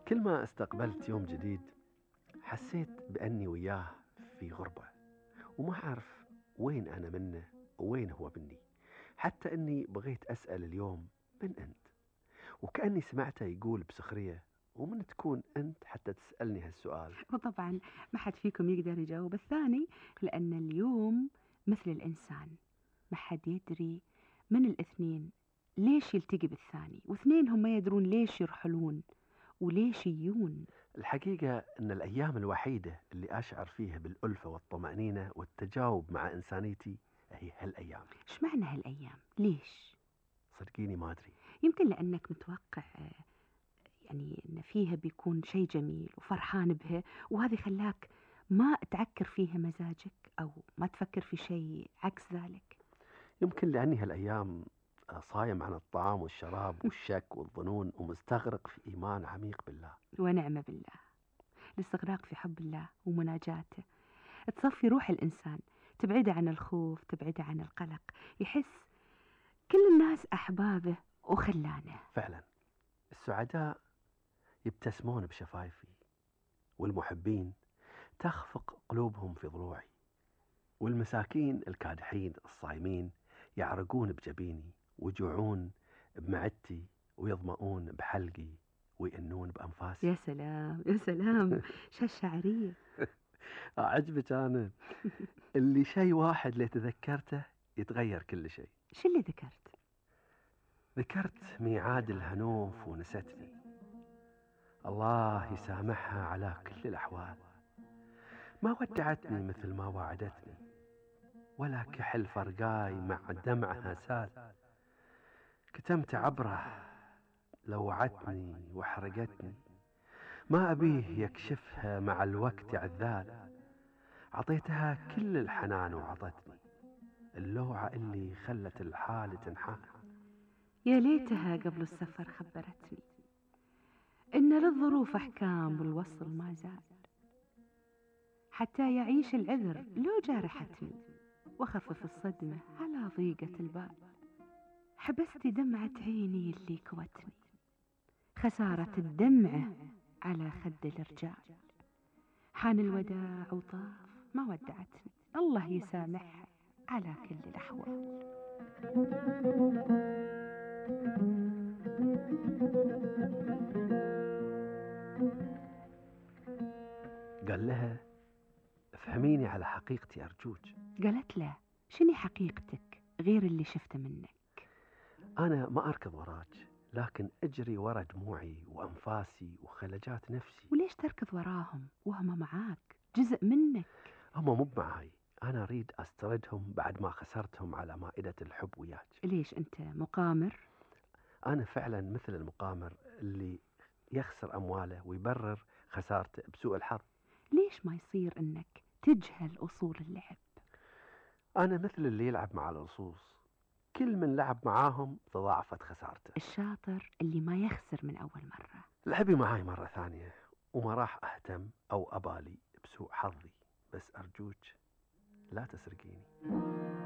كل ما استقبلت يوم جديد حسيت بأني وياه في غربة، وما أعرف وين أنا منه ووين هو مني. حتى أني بغيت أسأل اليوم من أنت، وكأني سمعته يقول بسخرية ومن تكون أنت حتى تسألني هالسؤال. وطبعا ما حد فيكم يقدر يجاوب الثاني، لأن اليوم مثل الإنسان، ما حد يدري من الاثنين ليش يلتقي بالثاني، واثنين هم ما يدرون ليش يرحلون وليش يجون. الحقيقة أن الأيام الوحيدة اللي أشعر فيها بالألفة والطمأنينة والتجاوب مع إنسانيتي هي هالأيام. إيش معنى هالأيام؟ ليش؟ صدقيني ما أدري. يمكن لأنك متوقع يعني أن فيها بيكون شيء جميل وفرحان بها، وهذا خلاك ما تعكر فيها مزاجك أو ما تفكر في شيء عكس ذلك. يمكن لأني هالأيام صايم عن الطعام والشراب والشك والظنون ومستغرق في إيمان عميق بالله. ونعم بالله. الاستغراق في حب الله ومناجاته تصفي روح الإنسان، تبعده عن الخوف، تبعده عن القلق، يحس كل الناس أحبابه وخلانه. فعلا السعداء يبتسمون بشفايفي، والمحبين تخفق قلوبهم في ضلوعي، والمساكين الكادحين الصايمين يعرقون بجبيني ويجوعون بمعدتي ويظمؤون بحلقي ويئنون بأنفاسي. يا سلام يا سلام، شعرية. أعجبك أنا. اللي شيء واحد اللي تذكرته يتغير كل شيء. شو اللي ذكرت؟ ذكرت ميعاد الهنوف ونستني. الله يسامحها على كل الأحوال، ما ودعتني مثل ما وعدتني، ولا كحل فرقاي مع دمعها سال. كتمت عبره لو وعدتني وحرقتني، ما أبيه يكشفها مع الوقت عذال. عطيتها كل الحنان وعطتني اللوعة اللي خلت الحال تنحال. يا ليتها قبل السفر خبرتني إن للظروف أحكام والوصل ما زال، حتى يعيش العذر لو جارحتني، وخفف الصدمة على ضيقة البال. حبست دمعة عيني اللي كوتني، خسارة الدمعة على خد الرجال. حان الوداع وطاف ما ودعتني، الله يسامحها على كل الأحوال. قال لها افهميني على حقيقتي أرجوك. قالت له شني حقيقتك غير اللي شفته منك؟ أنا ما أركض وراك، لكن أجري ورا دموعي وأنفاسي وخلجات نفسي. وليش تركض وراهم وهم معاك، جزء منك؟ هم مو معاي، أنا أريد أستردهم بعد ما خسرتهم على مائدة الحب وياك. ليش أنت مقامر؟ أنا فعلا مثل المقامر اللي يخسر أمواله ويبرر خسارته بسوء الحظ. ليش ما يصير أنك تجهل أصول اللعب؟ أنا مثل اللي يلعب مع الأصوص، كل من لعب معاهم تضاعفت خسارته. الشاطر اللي ما يخسر من أول مرة. لعبي معاي مرة ثانية وما راح أهتم أو أبالي بسوء حظي، بس أرجوك لا تسرقيني.